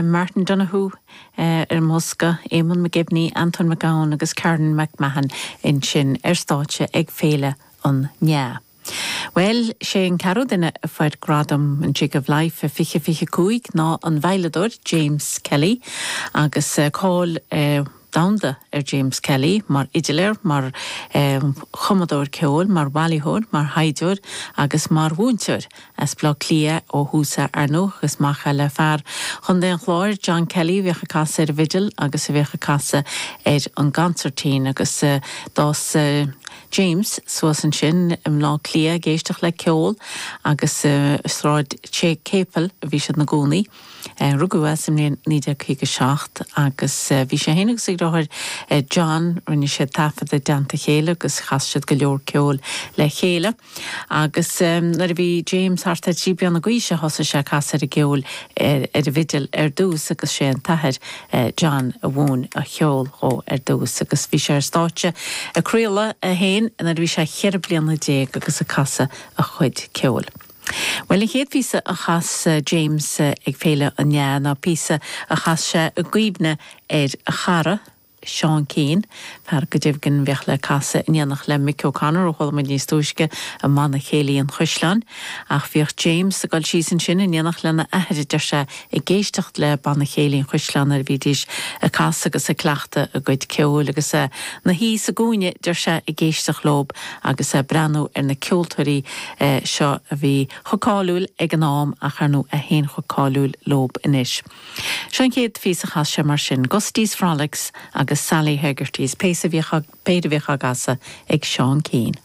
Martin Donohoe ar an mbosca, Eamonn McGivney, Antóin Mac Gabhann agus Karen McMahon ansin ar stáitse ag Féile an NEAH. Bhuel, sé an ceathrú duine a fuair gradam an Jig of Life i 2025 ná an veidhleadóir James Kelly agus cáil domhanda ar James Kelly mar fhidiléir, mar chumadóir ceoil, mar bhailitheoir, mar thaighdeoir agus mar mhúinteoir. As Baile Átha Cliath ó thús é ar ndóigh agus mac é le fear Chontae an Chláir, John Kelly, a bhíodh ag casadh ar an bhfidil agus a bhíodh ag casadh ar an gconsairtín agus d'fhás James suas ansin i mBleá Cliath ag éisteacht le ceol agus i Sráid Chéipil a bhí siad ina gcónaí. Rugadh é sa mbliain 1957 agus bhí sé féin agus a dheartháir John, rinne siad taifead i dteannta a chéile agus chas siad go leor ceoil le chéile. Agus nuair a bhí James thart ar thrí bliana d'aois a thosaigh sé ag casadh ar an gceol ar an bhfidil ar dtús agus sé an t-athair John a mhúin an cheol dhó ar dtús agus bhí sé ar stáitse ag craoladh é féin nuair a bhí sé cheithre bliana déag agus ag casadh a chuid ceoil. Bhuel an chéad phíosa a chas James ag Féile an NEAH ná píosa a chas sé i gcuimhne ar a chara, Seán Keane, fear go deimhin a bhíodh le casadh in éineacht le Mick O'Connor a chuala muid níos túisce i mBanna Céilí an Chaisleáin. Ach bhíodh James ag dul síos ansin in éineacht lena athair, a deir sé, ag éisteacht le Banna Céilí an Chaisleáin nuair a bhídís ag casadh agus ag cleachtadh a gcuid ceoil agus é 'na shuí sa gcúinne, deir sé, ag éisteacht leob agus é ag breathnú ar na ceoltóirí seo a bhí chomh cáiliúil ag an am ach ar ndóigh é féin chomh cáiliúil leob anois. Seo an chéad phíosa a chas sé mar sin, Gustie's Frolics agus Sally Hegarty's, péire a bhíodh á gcasadh ag Seán Keane.